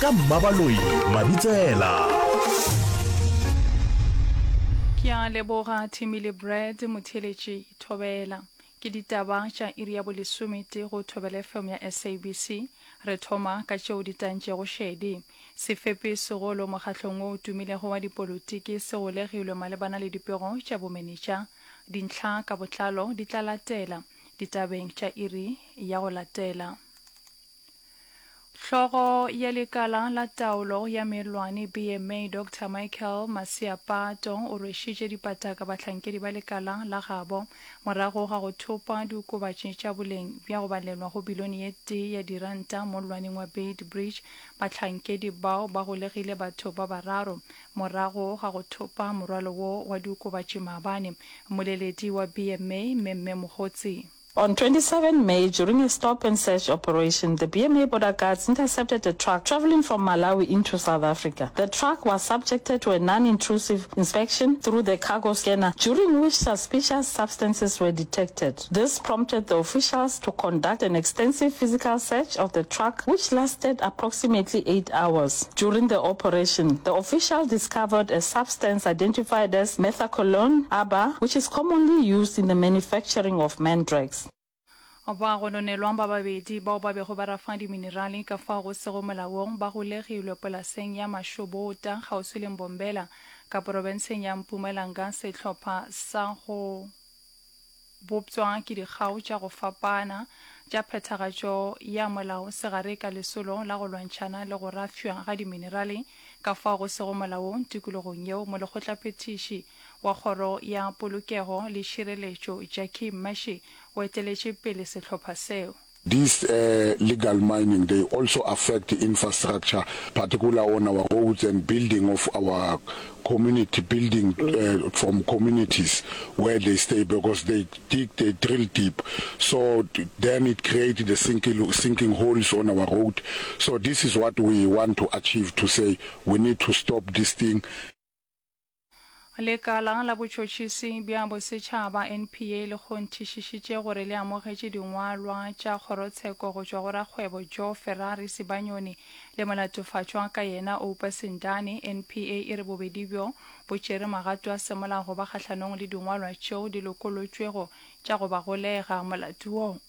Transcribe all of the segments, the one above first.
Ka Mmabaloi Mabitsela. Ke a leboga Timmy le Brad motheeletši Thobela. Ke ditaba tša iri ya bolesometee go Thobela FM ya SABC. Re thoma ka tšeo di tantšego šedi. Sefepi segolo mokgahlong wo o tumilego wa dipolotiki se golegilwe malebana le dipego tša bomenetša. Dintlha ka botlalo di tla latela ditabeng tša iri ya go latela. Hlogo ya Lekala la Taolo ya Mellwane, BMA, Doctor Michael Masiapato o rwešitše dipataka bahlankedi ba lekala la gabo morago ga go thopa diokobatši tša boleng bja go balelwa go bilione ye tee ya diranta mollwaneng wa Beit Bridge. Bahlankedi bao ba golegile batho ba bararo morago ga go thopa morwalo wo wa diokobatši maabane. Mmoleledi wa BMA, Memme Mogotsi. On 27 May, during a stop and search operation, the BMA border guards intercepted a truck travelling from Malawi into South Africa. The truck was subjected to a non-intrusive inspection through the cargo scanner, during which suspicious substances were detected. This prompted the officials to conduct an extensive physical search of the truck, which lasted approximately eight hours. During the operation, the officials discovered a substance identified as methaqualone, ABA, which is commonly used in the manufacturing of mandrax. Ba gononelwa ba babedi bao ba bego ba rafa diminerale ka fao go sego molaong ba golegilwe polaseng ya Mashobota kgauswi le Mbombela ka porobenseng ya Mpumalanga. Sehlopha sa go bopšwa ke dikgao tša go fapana tša phethagatšo ya molao se gare ka lesolo la go lwantšhana le go rafšwa ga diminerale ka fao go sego molaong tikologong yeo, Molekgotlaphethiši wa Kgoro ya Polokego le Tšhireletšo Jackie Mmashe o eteletše pele sehlopha seo. This legal mining they also affect infrastructure particular on our roads and building of our community building from communities where they stay because they dig they drill deep so then it create the sinking sinking holes on our road so this is what we want to achieve to say we need to stop this thing. Lekala la Botšhotšhisi bja Bosetšhaba, NPA, le kgonthišišitše gore le amogetše dingwalwa tša kgorotsheko go tšwa go rakgwebo Joe Ferrari Sibanyoni le molatofatšwa ka yena Oupa Sindane. NPA e re bobedi bjo bo tšere magato a semolao go ba kgahlanong le dingwalwa tšeo di lokolotšwego tša go ba golega. Molato wo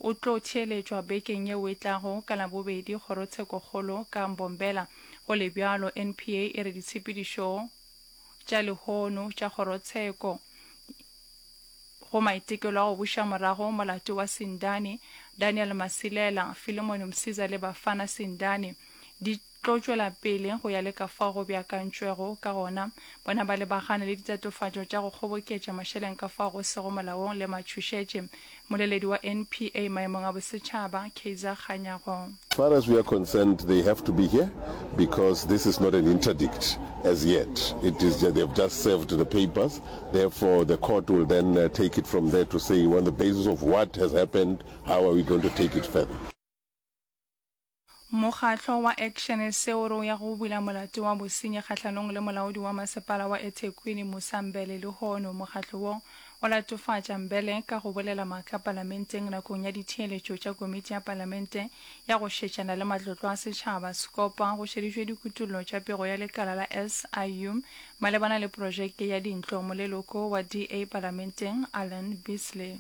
o tlo theeletšwa bekeng yeo e tlago ka Labobedi kgorotshekokgolo ka Mbombela. Go le bjalo, NPA e re ditshepedišo tša lehono tša kgorotsheko go maitekelo a go buša morago molato wa Sindane, Daniel Masilela, Philemon Msiza le Bafana Sindane di tlo tšwela pele go ya le ka fao go beakantšwego ka gona. Bona ba lebagane le ditatofatšo tša go kgoboketša mašeleng ka fao go sego molaong le matšhošetše. Mmoleledi wa NPA maemong a bosetšhaba, Kaizer Kganyago. Far as we are concerned they have to be here because this is not an interdict as yet it is they have just served the papers therefore the court will then take it from there to say on the basis of what has happened how are we going to take it further. Mokgatlo wa Action sa o re o ya go bula molato wa bosenyi kgahlanong le molaodi wa masepala wa eThekwini Musa Mbele lehono. Mokgatlo wo o latofatša Mbele ka go bolela maaka palamenteng nakong ya ditheeletšo tša komiti ya palamente ya go šetšana le matlotlo a setšhaba, Scopa, go šeditšwe dikutollo tša pego ya lekala la SIU malebana le projeke ya dintlo. Moleloko wa DA palamenteng Alan Beasley.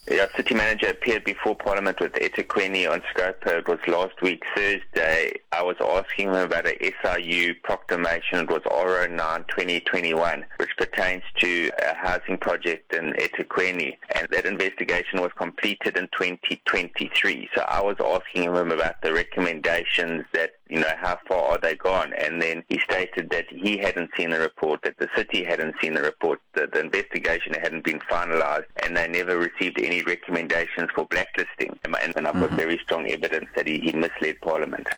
Yeah, city manager appeared before Parliament with eThekwini on Scopa. It was last week, Thursday. I was asking him about a SIU proclamation. It was R09 2021, which pertains to a housing project in eThekwini. And that investigation was completed in 2023. So I was asking him about the recommendations that you know, how far are they gone? And then he stated that he hadn't seen the report, that the city hadn't seen the report, that the investigation hadn't been finalized, and they never received any recommendations for blacklisting. And, and I've got mm -hmm. very strong evidence that he, he misled Parliament.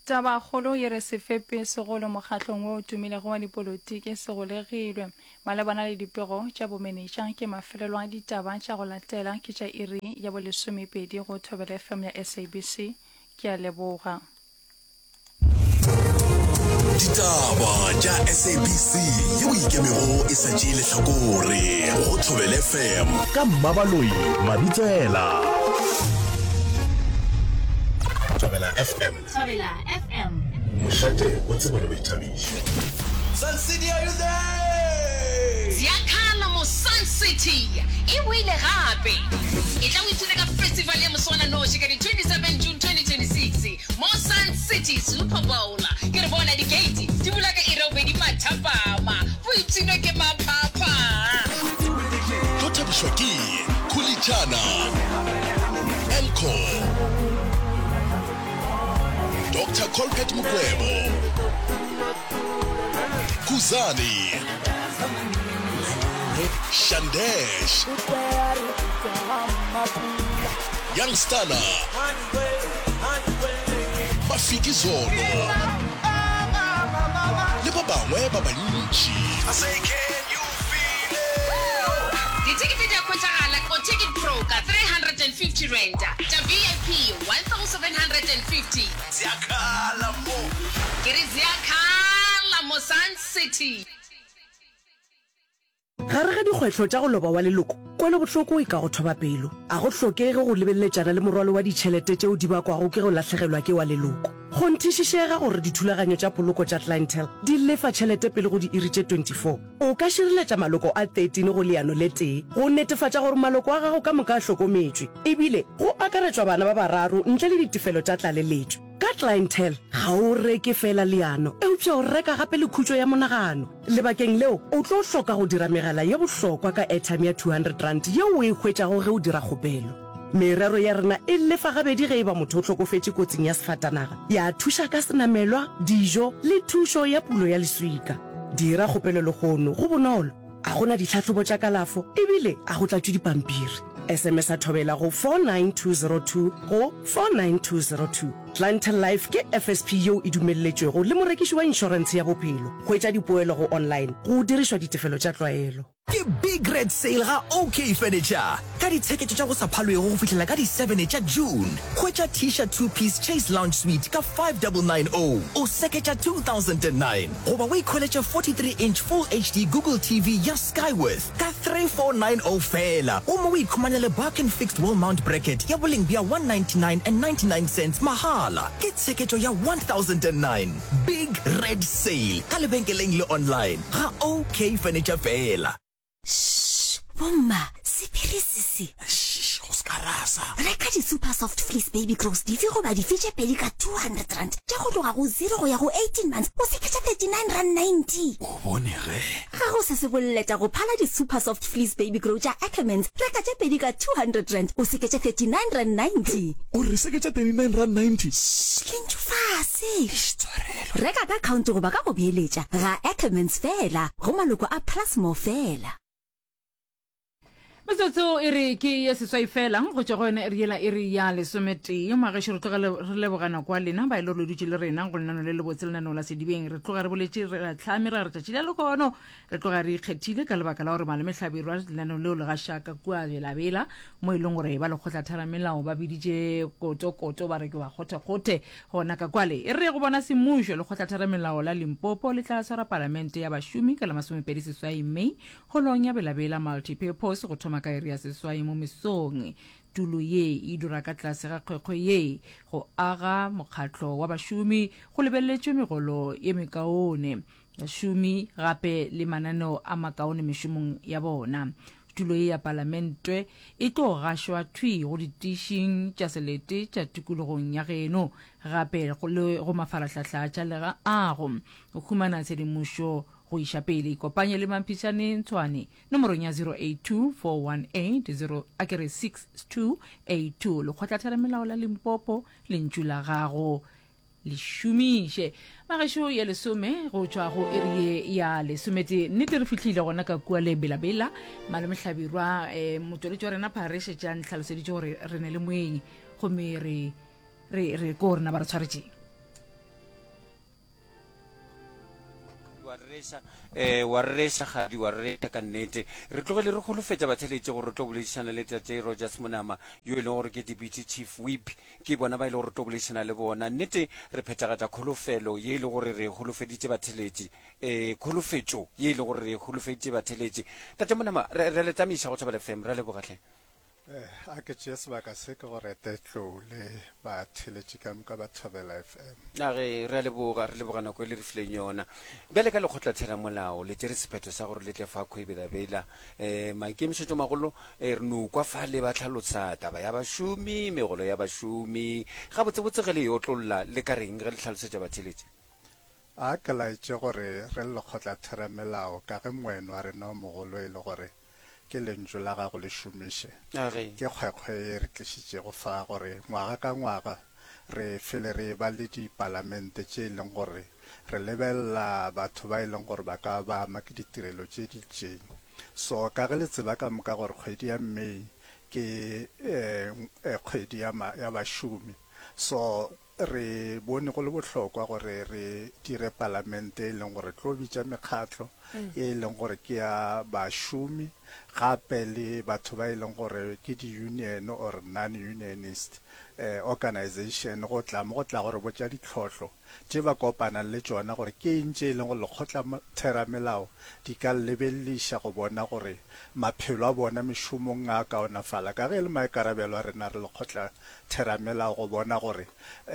Tabakgolo ye re sefepi segolo mokgahlong wo o tumilego wa dipolotiki se golegilwe malebana le dipego tša bomenetša ke mafelelo a ditaba tša go latela ke tša iri ya bolesomepedi go Thobela FM ya SABC Ke a leboga. Ditaba tša SABC yeo e ikemego e sa tšee lehlakore go Thobela FM ka Mmabaloi Mabitsela. Thobela FM. Thobela FM. Mošate wa tsebo le boithabišo. Sun City are you there? Ziakhala mo Sun City e boile gape! Etla o ipshine ka festival ya moswananoši ka di 27 June 2026 mo Sun City Super Bowl. Ke re bona di-gate di bula ka iri ya bobedi mathapama. Boipshino ke maphapha! Tlo thabišwa ke Khulitšana, Elcor, Doctor Colbert Mukwevho, Khuzani, Shandesh, Young Stunna, Mafikizolo le ba bangwe ba bantši. Dithekete di a hwetšagala go Ticket Pro ka R350, tša VIP R1750. Ziyakhala mo. Ke re ziyakhala mo Sun City. Gare ga dikgwetlho tša go loba wa leloko, kwelobohloko e ka go thoba pelo. A go hlokege go lebeleletšana le morwalo wa ditšhelete tšeo di bakwago ke go lahlegelwa ke wa leloko. Kgonthišišega gore dithulaganyo tša poloko tša Clientele di lefa tšhelete pele go diiri tše 24. O ka šireletša maloko a 13 go leano le tee go netefatša gore maloko a gago ka moka a hlokometšwe, ebile go akaretšwa bana ba bararo ntle le ditefelo tša tlaleletšo. Ka Clientele, ga o reke feela leano, eupša o reka gape le khutšo ya monagano. Lebakeng leo, o tlo hloka go dira megala ye bohlokwa ka airtime ya R200 yeo o e hwetšago ge o dira kgopelo. Merero ya rena e lefa gabedi ge e ba motho o hlokofetše kotsing ya sefatanaga, ya thuša ka senamelwa, dijo le thušo ya pulo ya leswika. Dira kgopelo lehono, go bonolo, a go na ditlhahlobo tša kalafo ebile a go tlatšwe dipampiri. SMS-a Thobela go 49202 go 49202. Clientele Life ke FSP yeo e dumelletšwego le morekiši wa inšorentshe ya bophelo. Hwetša dipoelo go online go dirišwa ditefelo tša tlwaelo. Ke Big Red Sale ga OK Furniture ka ditsheketšo tša go sa phalwego go fihlela ka di 7 tša June. Hwetša Tisha two piece Chase Lounge Suite ka 5990 o seketša 2009 goba o ikhweletše 43 inch Full HD Google TV ya Skyworth ka 3490 feela gomme o ikhumanele Barkin Fixed Wall Mount Bracket ya boleng bja $199.99 mahala. Ke tsheketšo ya 1009. Big Red Sale ka lebenkeleng le online ga OK Furniture feela. Shh! Bomma, sephiri se se. Shh! Go se ka rasa. Reka di-Super Soft Fleece Baby Grows dife goba dife tše pedi ka R200 tša go tloga go 0 go ya go 18 months o seketša R39.90. O bone ge. Ga go se se boleta go phala di-Super Soft Fleece Baby Grow tša Ackermans. Reka tše pedi ka R200 o seketše R39.90. O re seketša R39.90? Shh! Lentšu fase. Eish, tshwarelo. Reka ka khaonto goba ka go beeletša ga Ackermans feela go maloko a Plus More feela. Metsotso e re ke ye seswai fela go tšwa go yona iri yela iri ya lesometee. Magešo re tloga re leboga nako ya lena ba e le gore le dutše le rena go lenano le lebotse lenaneo la Sedibeng. Re tloga re boletše re a hlame ra re tšatši la lehono re tloga re ikgethile ka lebaka la gore malome Hlabirwa lenaneo leo le gaša ka kua Belabela mo e leng gore ba lekgotlatheramelao ba biditše kotokoto ba re ke ba kgothekgothe gona ka kwale. E re go bona semmušo lekgotlatheramelao la Limpopo le tla swara palamente ya bašomi ka la 28 May Holong ya Belabela Multi-Purpose go thoma ka iri ya seswai mo mesong. Tulo ye e dira ka tlase ga kgwekgwe ye go aga mokgatlo wa bašomi go lebeleletšwe megolo ye mekaone, bašomi gape le mananeo a makaone mešomong ya bona. Tulo ye ya Palamentwe e tlo gašwa thwi go ditišing tša selete tša tikologong ya geno gape le go mafarahlahla tša leago go humana tshedimošo Go iša pele, ikopanye le Mamphišane Ntshwane nomorong ya 082418 a ke re 6282. Lekgotlatheramelao la Limpopo, lentšu la gago le šomiše. Magešo ya lesome go tšwa go iri ye ya lesometee. Nnete re fihlile gona ka kua le Belabela. Malome Hlabirwa, eh, motšweletši wa rena Phare šetše a ntlhaloseditše gore re ne le moeng gomme re re re ko rena ba re tshwaretšeng. Wa rereša, eh, wa rereša, Kgadi, wa rereša ka nnete. Re tlogele re holofetša batheeletši gore re tlo boledišana le Tate Rogers Monama, yo e leng gore ke Deputy Chief Whip. Ke bona ba e lego gore re tlo boledišana le bona. Nnete re phethagatša kholofelo ye e lego gore re e holofeditše batheeletši, eh, kholofetšo ye e lego gore re e holofeditše batheeletši. Tate Monama, re, re a le tamiša go Thobela FM. Re a leboga hle. Eh, a ke tšee sebaka se ke go rete Tlou le batheeletši ka moka ba Thobela FM. A re, re a leboga, re leboga nako e le re fileng yona. Bjale ka lekgotlatheramolao le tšere sephetho sa gore le tle fa Kgwebelabela. Um maikemišetšomagolo um re no kwa fale ba hlalosa taba ya bašomi, megolo ya bašomi. Gabotsebotse ge le e otlolla le ka reng ge le hlalosetša batheeletši? A ke laetše gore re le lekgotlatheramelao ka ge moeno wa rena o mogolo e le gore ke lentšu la gago le šomiše. Ke kgwekgwe ye re tlišitšego fa gore ngwaga ka ngwaga re fele re eba le dipalamente tše e leng gore re lebelela batho ba e leng gore ba ka ba ama ke ditirelo tše di itšeng. So ka ge le tseba ka moka gore kgwedi ya May ke kgwedi ya ya bašomi, so Re bone go le bohlokwa gore re dire palamente e leng gore tlo bitša mekgatlo ye e leng gore ke ya bašomi gape le batho ba e leng gore ke di-union or non-unionist organization go tla mo go tla go re botša ditlhohlo tše ba kopanang le tšona gore ke eng tše e leng gore lekgotlatheramelao di ka lebeleliša go bona gore maphelo a bona mešomong a kaonafala ka ge e le maikarabelo a rena re lekgotla theramelao go bona gore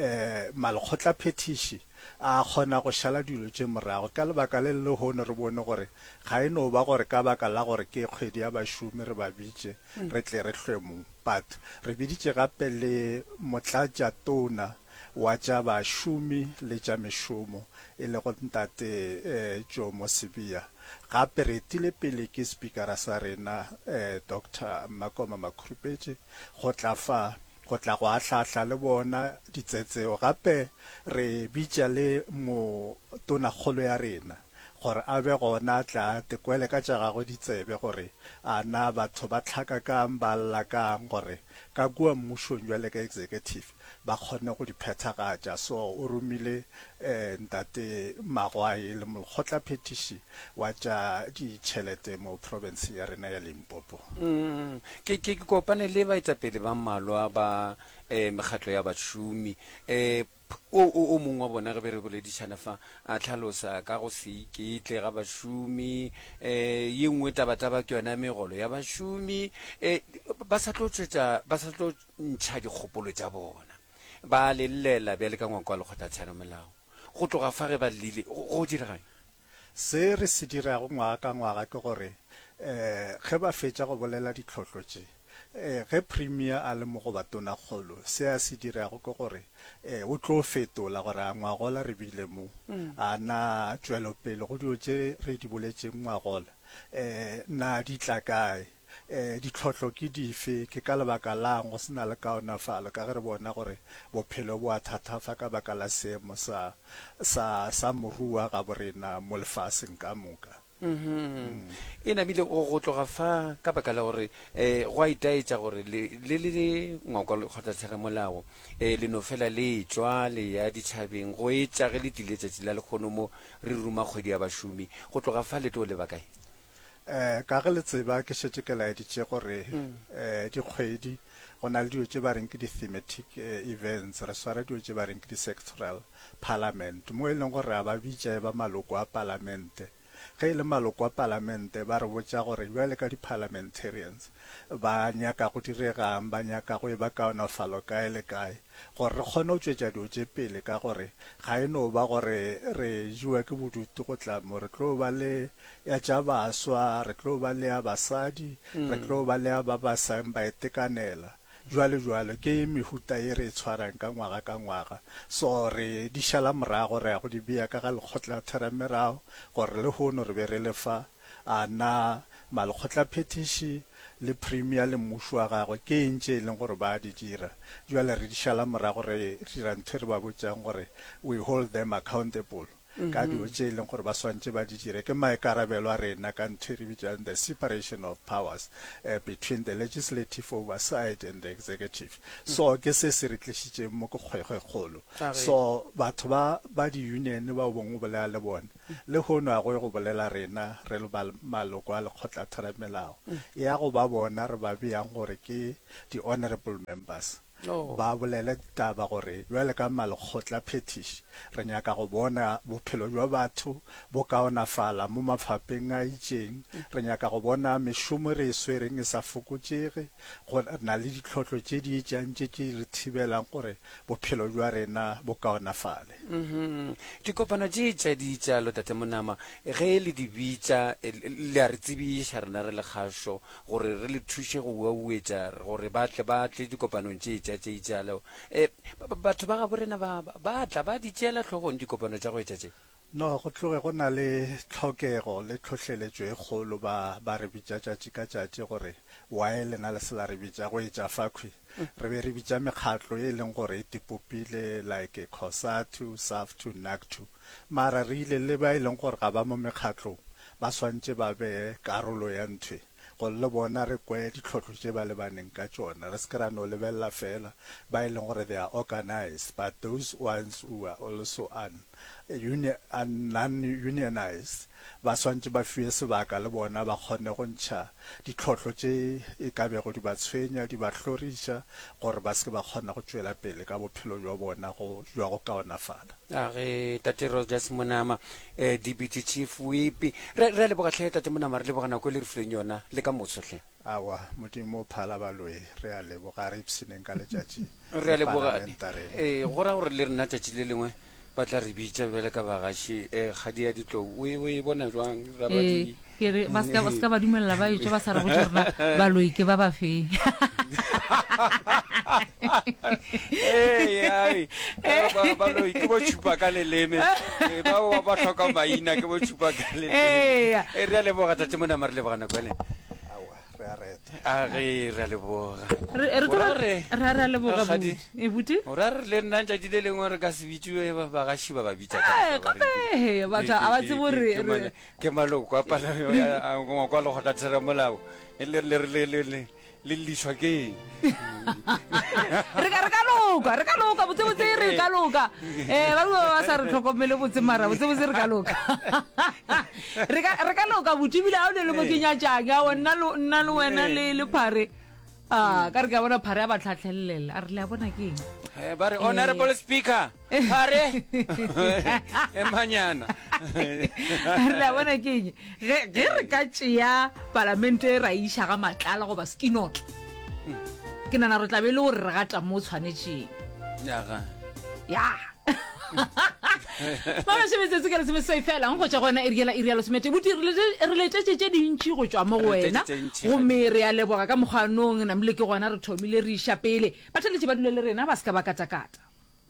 malekgotlaphethiši a kgona go šala dilo tše morago. Ka lebaka le le lehono re bone gore ga e no ba gore ka baka la gore ke kgwedi ya bašomi re ba bitše re tle re hlwe mo. But re biditše gape le motlatšatona wa tša bašomi le tša mešomo e lego Ntate Jomo Sibiya. Gape re etile pele ke Spikara sa rena Doctor Mmakoma Makhurupetše go tla fa, go tla go ahlaahla le bona ditsetseo. Gape re bitša le mo Tonakgolo ya rena gore a be gona a tle a tekwele ka tša gagwe ditsebe gore a na batho ba hlaka kang, ba lla kang gore ka kua mmušong bjale ka executive ba kgone go di phethagatša. So o romile Ntate Magwai le molekgotlaphethiši wa tša ditšhelete mo profenseng ya rena ya Limpopo. Ke, ke, ke kopane le baetapele ba mmalwa ba eh, mekgatlo ya bašomi. Eh, o, o, o mongwe wa bona ge be re boledišana fa a hlalosa ka go se iketle ga bašomi. Eh, ye nngwe tabataba ke yona megolo ya bašomi. Eh, ba sa tlo tšwetša, ba sa tlo ntšha dikgopolo tša bona. Ba le llela bjale ka ngwako wa lekgotlatheromelao. Go tloga fa ge ba llile, go, go diregang? Se re se dirago ngwaga ka ngwaga ke gore, um ge ba fetša go bolela ditlhohlo tše, um ge Premier a le mo goba Tonakgolo, se a se dirago ke gore, um o tlo fetola gore a ngwagola re bile mo, a na tšwelopele go dilo tše re di boletšeng ngwagola, um na di tla kae. Ditlhohlo ke dife? Ke ka lebaka la'ng go se na le kaonafalo ka ge re bona gore bophelo bo a thatafa ka baka la seemo sa, sa, sa moruo wa gabo rena mo lefaseng ka moka? E namile go, go tloga fa ka baka la gore um go a itaetša gore le, le le ngwako wa lekgotlatheramolao um le no fela le etšwa le ya ditšhabeng go etša ge le tlile tšatši la lekgono mo re ruma kgwedi ya bašomi. Go tloga fa le tlo leba kae? Eh, ka ge le tseba ke šetše ke laeditše gore eh, dikgwedi go na le dilo tše ba reng ke di-thematic eh, events, re swara dilo tše ba reng ke di-sectoral parliament, mo e leng gore re a ba bitša e ba maloko a palamente. Ge e le maloko a palamente ba re botša gore bjale ka di-parliamentarians ba nyaka go diregang, ba nyaka go e ba kaonafalo kae le kae, gore re kgone go tšwetša dilo tše pele ka gore ga e no ba gore re jewa ke bodutu go tla mo, re tlo ba le ya tša baswa, re tlo ba le ya basadi, re tlo ba le ya ba ba sang ba itekanela, jwalo jwalo. Ke mehuta ye re e tshwarang ka ngwaga ka ngwaga. So re di šala morago, re ya go di bea ka ga lekgotlatheramelao gore lehono re be re le fa. A na malekgotlaphethiši le Premier le mmušo wa gagwe ke eng tše e leng gore ba a di dira? Jwale re di šala morago, re dira ntho e re ba botšang gore we hold them accountable. ka dilo tše e leng gore ba swantše ba di dire. Ke maikarabelo a rena ka ntho e re bitšang the separation of powers between the legislative oversight and the executive. So ke se se re tlišitšeng mo ke kgwekgwe kgolo. So batho ba ba di-union bao bongwe o bolela le bona, lehono a go ye go bolela rena re le ba maloko a lekgotlatheramelao, e ya go ba bona re ba beang gore ke di-honourable members. Ba bolele taba gore bjale ka malekgotla phethiši re nyaka go bona bophelo bja batho bo kaonafala mo mafapeng a itšeng. Re nyaka go bona mešomo re e swereng e sa fokotšege. Go na le ditlhohlo tše di etšang tše tše di re thibelang gore bophelo bja rena bo kaonafale. Dikopano tše tša ditšalo, Tate Monama, ge le di bitša, le a re tsebiša rena re le kgašo gore re le thuše go uauetša gore ba tle ba tle dikopanong tše tša tše itšalo. Batho ba gabo rena ba, ba tla, ba di tšeela hlogong dikopano tša go etša tše? No, go tloge go na le tlhokego le tlhohleletšo e kgolo, ba, ba re bitša tšatši ka tšatši gore, Why lena le se la re bitša go etša fakhwi? Re be re bitša mekgatlo e leng gore e tipopile like Cosatu, Saftu, Nactu. Mara re ile le ba e leng gore ga ba mo mekgatlong, ba swantše ba be karolo ya ntho e, gore le bona re kwe ditlhohlo tše ba lebaneng ka tšona. Re se ke ra no lebelela feela ba e leng gore they are organised, but those ones who are also un, uni, un, non-unionised ba swantše ba fiwe sebaka le bona ba kgone go ntšha ditlhohlo tše e ka bego di ba tshwenya, di ba hloriša gore ba se ke ba kgona go tšwela pele ka bophelo bja bona go, bja go kaonafala. A ge Tate Rogers Monama, eh, Deputy Chief Whip. Re, re a leboga hle Tate Monama, re leboga nako e le re fileng yona le ka moso hle. Aowa, Modimo o phala baloi. Re a leboga, a re ipshineng ka letšatši Re a le leboga. Parlamentareng. Ee, go ra gore le rena tšatši le lengwe ba tla re bitša bjale ka bagaši. Eh, kgadi ya ditlou, o e, o e bona jwang? Ra ba Ee, di. ke re ba se ka ba se ka ba dumelela ba etšwa ba sa re botše gore na baloi ke ba ba feng. Ee, ai, ba, baloi ke bo tšhupa ka leleme. Ee, ba ba ba hloka maina ke bo tšhupa ka leleme. Ee. Ee, re a leboga Tate Monama, re leboga nako ene. Aowa, re a reta. A ge re a leboga. Re re O ra tlo re, re a re a leboga Rakgadi, buti. E buti? o ra re le nna tšatši le lengwe re ka se bitšiwe ba bagaši ba ba bitša ka Eh, moka ba re ke- gape batho ke- a ba ke- tsebe ke- gore ke re male- ke maloko a pala- a- a- ngwako wa lekgotlatheramolao le le le le le le le llišwa ke eng? re ka re ka loka re ka loka botsebotse re ka loka um ba bangwe ba sa re tlhokomele botse mara botsebotse re ka loka re ka re ka loka botse ebile ga o ne le mo ke nyatšang ao nna le nna le wena le le phare a ka re ke a bona phare a ba tlhatlhelelela a re le a bona ke eng Eh, ba re honorable speaker Phare emanyana. Re a bona ke eng ge ge re ka tšea palamente e ra iša ga matlala goba skinotla ke nana re tla be e le gore re gata mo tshwanetšeng Yaga. ya mamashe metsotso ke lesomeseswai fela go tšwa go yona iri yela iri ya lesomete buti re letetše tše dintši go tšwa mo go wena gomme re a leboga ka mokgwanong namile ke gona re thomile re iša pele batheletši ba dule le rena ba se ka ba katakata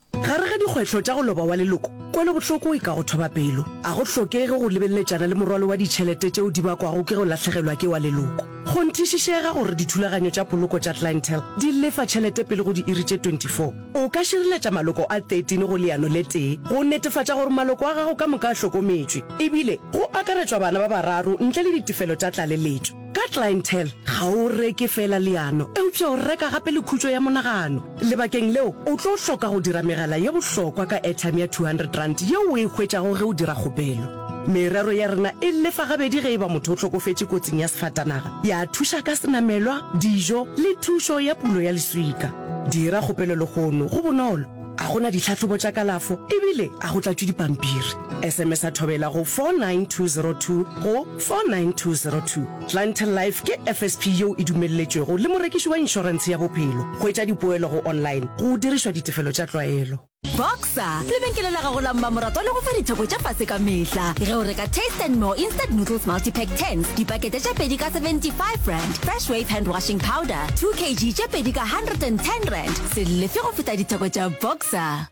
Gare ga dikgwetlho tša go loba wa leloko, kwelobohloko e ka go thoba pelo. A go hlokege go lebeleletšana le morwalo wa ditšhelete tšeo di bakwago ke go lahlegelwa ke wa leloko. Kgonthišišega gore dithulaganyo tša poloko tša Clientele di lefa tšhelete pele go diiri tše 24. O ka šireletša maloko a 13 go leano le tee go netefatša gore maloko a gago ka moka a hlokometšwe, ebile go akaretšwa bana ba bararo ntle le ditefelo tša tlaleletšo. Ka Clientele, ga o reke feela leano, eupša o reka gape le khutšo ya monagano. Lebakeng leo, o tlo hloka go dira megala ye bohlokwa ka airtime ya R200 yeo o e hwetšago ge o dira kgopelo. Merero ya rena e lefa gabedi ge e ba motho o hlokofetše kotsing ya sefatanaga, ya thuša ka senamelwa, dijo le thušo ya pulo ya leswika. Dira kgopelo lehono, go bonolo, a go na ditlhahlobo tša kalafo ebile a go tlatšwe dipampiri. SMS-a Thobela go 49202 go 49202. Clientele Life ke FSP yeo e dumelletšwego le morekiši wa inšorentshe ya bophelo. Hwetša dipoelo go online go dirišwa ditefelo tša tlwaelo. Boxer, lebenkele la gago la mmamoratwa le go fa ditheko tša fase ka mehla. Ge o reka Taste and More Instant Noodles Multipack Tins, dipakete tše pedi ka R75, Fresh Wave Hand Washing Powder, 2 kg tše pedi ka R110, se lefe go feta ditheko tša Boxer.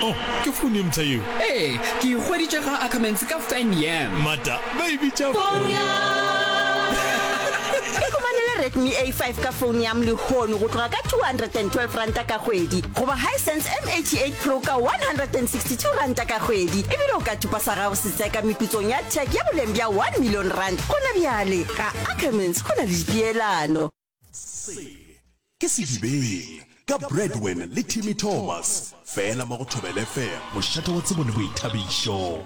Oh, ke founu ye mpsha yeo? Ee, ke e hweditše ga Ackermans ka Fan Yam. Mata, ba e bitša Ikhumanele Redmi A5 ka phone yam lehono go tloga ka R212 ka kgwedi goba Hisense M88 Pro ka R162 ka kgwedi. Ebile o ka thupa sa gago setseka meputsong ya tech ya boleng bja R1 million gona bjale. Ga Ackermans go na le dipeelano. Se ke Sedibeng ka Bradwin le Timmy Thomas, fela mo go Thobela FM, mošate wa tsebo le boithabišo.